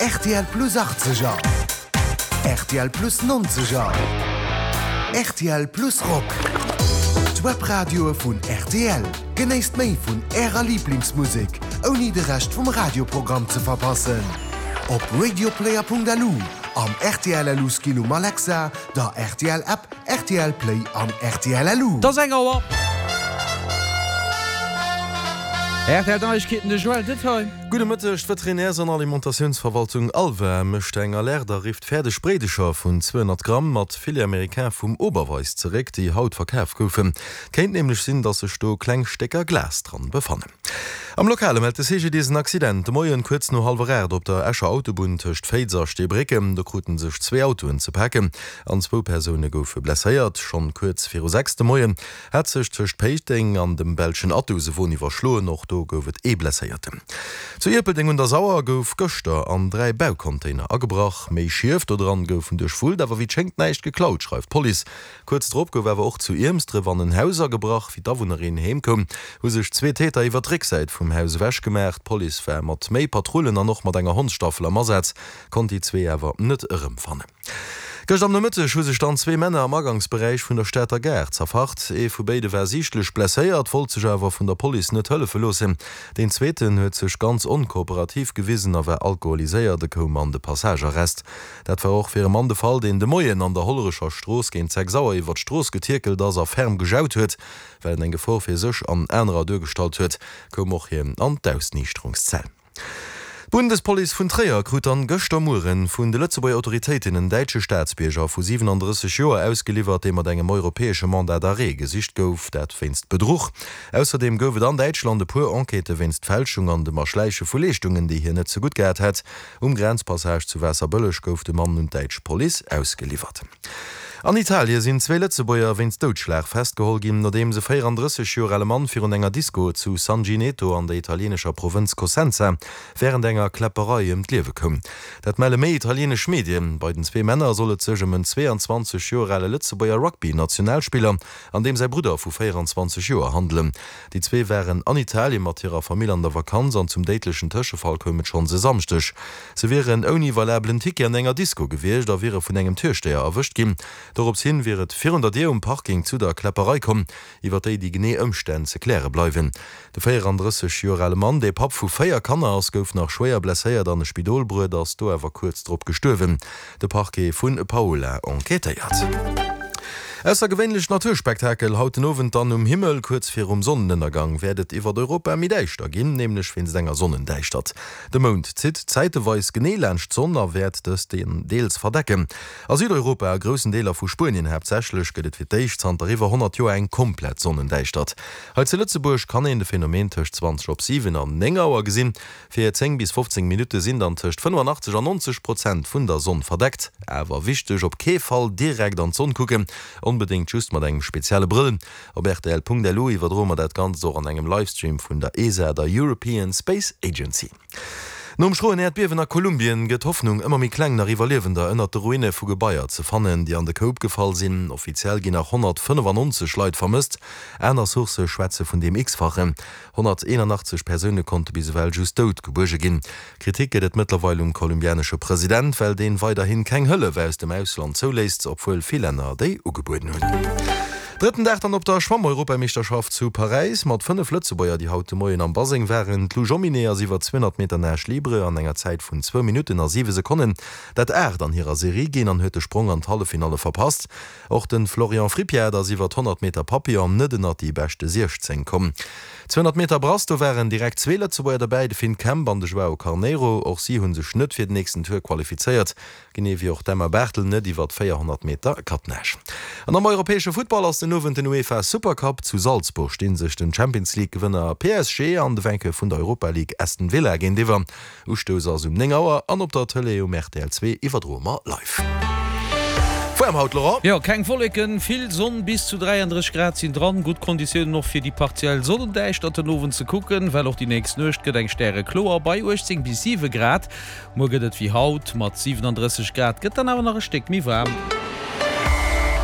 Rtl Plus Achtzeger, rtl Plus Nonzeger, rtl Plus Rock. D'Webradioe vun rtl. Genéisst méi vun Ärer Liblingsmusek, ouni de Rescht vum Radioprogramm ze verpassen. Op radioplayer.lu, am rtl LU Skill um Alexa, der rtl App, rtl Play an rtl LU. 't ass eng Auer. Rtl Neiegkeeten, de Joël Detail. Gudde Mëtteg, D'Veterinärs an Alimentatiounsverwaltung ALVA mécht eng Alerte a rifft fäerdeg Bréidecher vun 200 Gramm mat Filet américain vum Oberweis zeréck, déi haut verkaf goufen. Kéint nämlech sinn, dass sech do kleng Stécker Glas dran befannen. Am Lokale mellt de CGDIS en Accident de Moien kuerz no hallwer 8 op der Escher Autobunn tëscht Féiz a Steebrécken. Do kruten sech zwee Autoen ze paken an zwou Persoune goufe blesséiert. Schonn kuerz viru 6 de Moien hat sech tëscht Péiteng an dem belschen Athus e Won iwwerschloen. Och do gouf et ee Blesséierten. Zu Ierpeldeng un der Sauer gouf gëschter an 3 Baucontainer agebrach. Méi Schief do dran goufen duerchwullt, awer wéi et schéngt näischt geklaut, schreift d'Police. Kuerz drop gouf awer och zu Iermsdref an en Haus agebrach. Wéi d'Awunnerin heem koum, hu sech zwee Täter iwwer d'Récksäit vum Haus ewech gemaach. D'Police war mat méi Patrullen an och mat enger Hondsstaffel am Asaz, konnt déi zwee awer net erëmfannen. Gëscht am Nomëtteg hu sech dann zwee Männer am Agangsberäich vun der Stater Gare zerfacht. Ee vu béide war siichtlech blesséiert, wollt sech awer vun der Police net hëllefe loossen. Deen zweeten huet sech ganz onkooperativ gewisen a war alkoholiséiert. E koum an de Passagearrest. Dat war och fir e Mann de Fall, deen de Moien an der Hollerecher Strooss géint 6 Auer iwwer d'Strooss getierkelt ass a ferm gejaut huet. Well en eng Gefor fir sech an anerer duergestallt huet, koum och hien an d'Ausniichterungszell. D'Bundespolice vun Tréier krut dann gëschter Mueren vun de Lëtzebuerger Autoritéiten en däitsche Staatsbierger vu 37 Joer ausgeliwwert, dee mat engem europäesche Mandat d'arrêt gesicht gouf, dat wéinst Bedruch. Ausserdeem gouf et an Däitschland e puer Enquêtë wéinst Fälschung an dem Erschläiche vu Leeschtungen, déi hien net zegutt gehat hätt. Um Grenzpassage zu Waasserbëlleg gouf de Mann un d'däitsch Police ausgeliwwert. An Italie sinn zwee Lëtzebuerger wéinst Doudschlag festgeholl ginn, nodeems e 34 Joer ale Mann virun enger Disko zu Sangineto an der italienescher Provënz Cosenza wärend enger Kläpperei ëm d'Liewe koum. Dat melle méi italienesch Medien. Bei den zwee Männer soll et sech ëm en 22 Joer ale Lëtzebuerger Rugby-Nationalspiller an deem säi Brudder vu 24 Joer handelen. Déi zwee waren an Italien mat hirer Famill an der Vakanz an zum déidlechen Tëschefall koum et schonns e Samschdeg. Se wieren ouni valabelen Ticket an enger Disko gewiescht a wiere vun engem Türstéier erwëscht ginn. Dorops hin wier et virun der Dier um Parking zu der Kläpperei komm, iwwer déi déi genee Ëmstänn ze kläre bleiwen. De 34 Joer ale Mann, dee Papp vu 4 Kanner ass, gouf nach schwéier blesséiert an e Spidol bruet, ass do awer kuerz drop gestuerwen. De Parquet vu Paola enquêtéiert. Aussergewéinlecht Naturspektakel haut den Owend dann um Himmel. Kuerz virum Sonnenënnergang wäert et iwwert Europa méi däischter ginn, nämlech wéinst enger Sonnendäischtert. De Mound zitt zäiteweis genee laanscht d'Sonn a wäert dës deels verdecken. A Südeuropa, a groussen Deeler vu Spuenien haaptsächlech, gëtt et fir d'éischt zanter iwwer 100 Joer eng komplett Sonnendäischtert. Hei zu Lëtzebuerg kann een de Phänomen tëscht 20 op 7 an 9 Auer gesinn. Fir 10 bis 15 Minutte sinn dann tëscht 85 an 90 Prozent vun der Sonn verdeckt. Awer wichteg, op kee Fall direkt an d'Sonn kucken, onbedéngt just mat engem spezielle Brëll. Op rtl.lu iwwerdroe mer dat Ganzt och an engem Livestream vun der ESA, der European Space Agency. Nom schroen Äerdbiewen a Kolumbien gëtt d'Hoffnung ëmmer méi kleng, nach Iwwerliewender ënnert de Ruine vu Gebaier ze fannen, déi an de Koup gefall sinn. Offiziell ginn nach 195 Leit vermësst, aner Sourcë schwätze vun deem X-fachen. 181 Persoune konnte bis ewell just dout gebuerge ginn. Kritik gëtt et mëttlerweil um kolumbianesche President, well deen weiderhin keng Hëllef aus dem Ausland zouléisst, obwuel vill Länner déi ugebueden hunn. Drëtten Dag dann op der Schwamm-Europameeschterschaft zu Paräis mat 5 Lëtzebuerger, déi haut de Moien am Baseng waren. D'Lou Jomminet ass iwwer 200 Meter Nage libre an enger Zäit vun zwou Minutten a siwe Sekonnen dat aacht an hirer Serie ginn an huet de Sprong an d'Halleffinalle verpasst. Och de Florian Frippiat ass iwwer 100 Meter Papillon net ënnert déi beschte 16 komm. 200 Meter Brass, do waren direkt zwee Lëtzebuerger dobäi, de Finn Kemp an de Joao Carneiro. Och si hu sech net fir den nächsten Tour qualifizéiert, genee wéi och d'Emma Barthel net iwwer 400 Meter Kattnage. An am europäesche Futtball ass den Owend den UEFA Supercup. Zu Salzburg sti sech den Champions League Gewënner PSG an de Vainqueur vun der Europa League Aston Villa géintiwwer. Ustouss ass um 9 Auer an op der Tëlee um rtl 2 iwwerdroe mer live. Waarm haut, Laurent? Jo, keng Wolleken, vill Sonn, bis zu 33 Grad sinn dran. Gutt Konditiounen och fir déi partiell Sonnendäischtert den Owend ze kucken, well och déi nächst Nuecht gëtt eng stärekloer bei 18 bis 7 Grad. Muer gëtt et wéi haut mat 37 Grad, gëtt dann awer nach e Stéck méi waarm.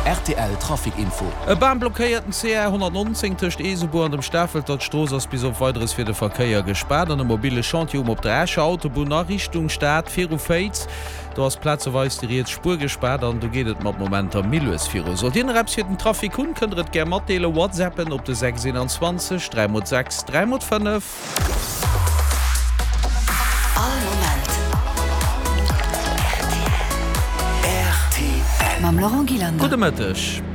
Rtl Trafic Info. E Bam blockéiert den CR 119 tëscht Eesebuer an dem Stafelter. D'Strooss ass bis op Weideres fir de Verkéier gespaart an e mobile Chantier um op der Escher Autobunn a Richtung Stad viru Féiz. Do ass plazeweis déi riets Spuer gespaart an do geet et mat Momenter méi lues viru. Sollt Dir nach eppes fir den Trafic hunn, kënnt der et gär matdeelen. Whatsappen op de 6 21 3 mol 6 3 mol 5. All Moment rtl. Mam Laurent Gillander. Gudde Mëtteg.